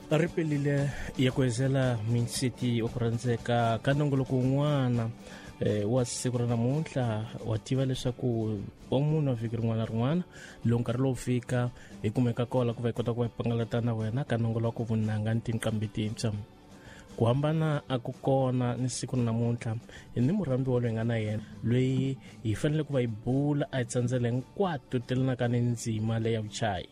Ri pelile ya ku hezela minsiti wa ku rhandzeka ka nongoloko wun'wana wa siku ra namuntlha. Wa tiva leswaku wa munhu wa vhiki rin'wana na rin'wana loko nkarhi lowu fika hi kumeka kola ku va hi kota ku va hi pangalata na wena ka nongoloko vunanga ni tinqambi tintshwa. Ku hambana a ku kona ni siku ra namuntlha hi ni murhambi wa loyi nga na yena loyi hi fanele ku va hi bula a hi tsandzela hinkwato telanaka ni ndzima leya vuchayi.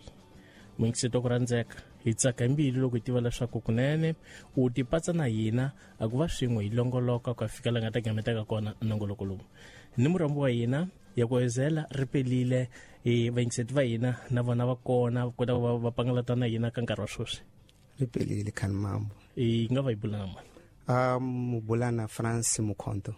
Muyingiseti wa ku rhandzeka, hi tsaka hi mbilu loko hi tiva leswaku kunene u tipatsa na hina a ku va swin'we hi longoloka ku ya fika la nga ta gametaka kona nongoloko lowu. Ni murhambi wa hina ya ku hezela ri pelile, hi vayingiseti va hina na vona va kona va kota ku va va pangalata na hina ka nkarhi wa sweswi. Ri pelile khani mambo. Hi nga va hi bula na mani? Mubulana France Mukhonto.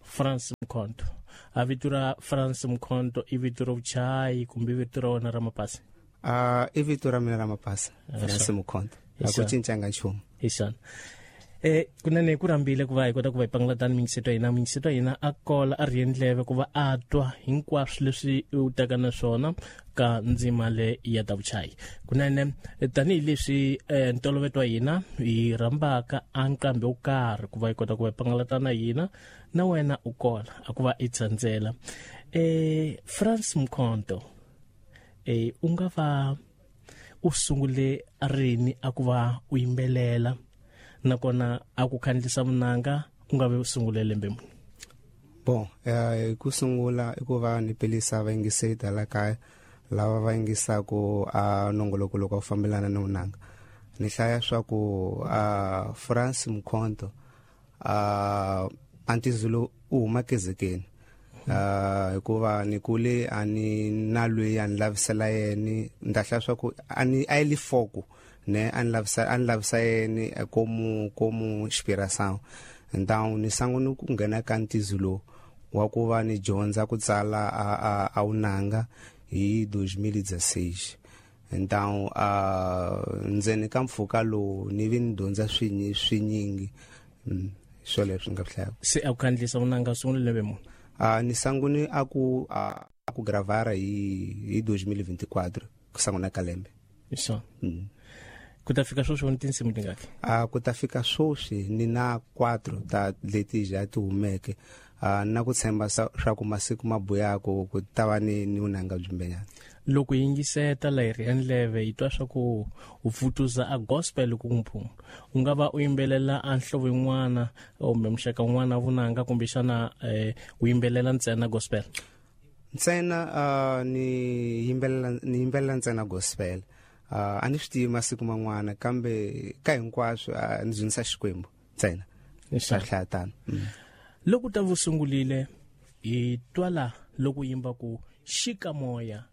France Mukhonto. A vito ra France Mukhonto i vito ra vuchayi kumbe i vito ra wena ra mapasi? I vito ra mina ra mapasi, France Mukhonto. A ku cincanga nchumu. Hi swona. Kunene ku rhambile ku va hi kota ku va hi pangalata ni mingiseto ya hina. Mingiseto ya hina a kola a rhiye ndleve ku va a twa hinkwaswo leswi u taka na swona ka ndzima le ya ta vuchayi. Kunene tanihileswi ntolovelo wa hina hi rhambaka a nqambi wo karhi ku va hi kota ku va hi pangalata na hina, na wena u kola a ku va i tsandzela. France Mukhonto, u nga va u sungule rini a ku va u yimbelela, nakona a ku khandlisa vunanga u nga ve u sungule lembe muni? Bon, ku sungula i ku va ni pelisa vayingiseri ta la kaya lava va yingisaku a nongoloko loko a fambelana ni vunanga. Ni hlaya swa ku a France Mukhonto a Antizulu u huma kezekeni. Hikuva ni kule a ni na loyi a ni lavisela yena, ni ta hlaya swa ku a ni a yi li foku ne a ni lavisa, a ni lavisa yena como inspiração. Então ni sangune ku nghena ka Ntizulu wa ku va ni dyondza ku tsala a vunanga hi 2016. Então ndzeni ka mpfhuka lowu ni vi ni dyondza swinyingi. Swo leswi nga hlaya. Se a ku khandlisa vunanga sungule lembe muni? Ni sangune a ku a ku gravara hi 2024, ku sanguna ka lembe. Hi swona. Ku ta fika sweswi ni tinsimu tingaki? Ku ta fika sweswi ni na 4 ta leti ja ti humeke. Na ku tshemba swa ku masiku ma buyako ku ta va ni vunanga byimbenyana. Loko yingiseta la hi ri ndleve hi twa swa ku u pfutuza a gospel ku mphumu. U nga va u yimbelela a nhlovo yin'wana kumbe muxaka wun'wana vunanga, kumbexana u yimbelela ntsena gospel? Ntsena ni yimbelela, ni yimbelela ntsena gospel. A ni swi tivi masiku man'wana, kambe ka hinkwaswo ni dzunisa Xikwembu ntsena. Hi Swa hlaya tano. Loko ta vu sungulile hi twala loko yimba ku xika moya.